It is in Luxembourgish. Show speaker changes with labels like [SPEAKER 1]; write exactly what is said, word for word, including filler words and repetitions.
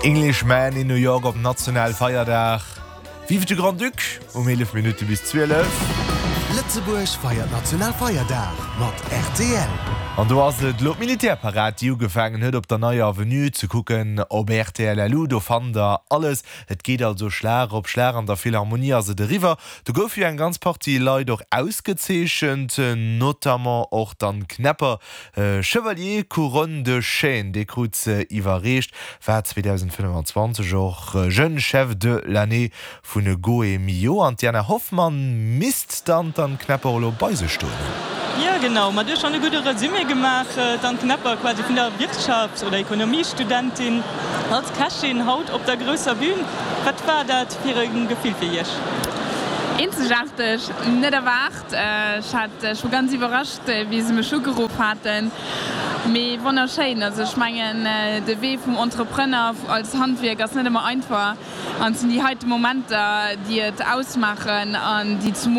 [SPEAKER 1] Englishman in New York op Nationalfeierdag. Vive de Grand-Duc um eelef Minutte bis zwielef.
[SPEAKER 2] Lëtzebuerg feiert Nationalfeierdag mat R T L.
[SPEAKER 1] An do ass et lo d'Militärparad, déi ugefaangen huet op der Neier Avenue, ze kucken op R T L L U, do fannt der alles. Et geet also Schlag op Schlag, an der Philharmonie ass et eriwwer. Do gouf jo eng ganz Partie Leit och ausgezeechent, notamment och d'Anne Knepper, Chevalier Couronne de Chêne, dee krut se iwwerreecht, war zweedausendfënnefanzwanzeg och Jeune Chef de l'année vun Gault et Millau. An d'Diana Hoffmann misst dann d'Anne Knepper elo bei sech stoen hunn.
[SPEAKER 3] Ja genau, ma du hues schonn e gudde Resumé gemaach, d'Anne Knepper, quasi vun der Wirtschafts oder Ekonomiestudentin als Kächin haut op der grousser Bün. Wat war dat fir e Gefill fir Iech?
[SPEAKER 4] Eenzegaarteg, net erwaart. Ech hat ech war ganz iwwerrascht, wéi se mech ugeruff haten. Mee wonnerschéin, also ech mengen, de Wee vum Entrepreneur als Handwierk ass net ëmmer einfach an et sinn déi heite Momenter, déi et ausmaachen an déi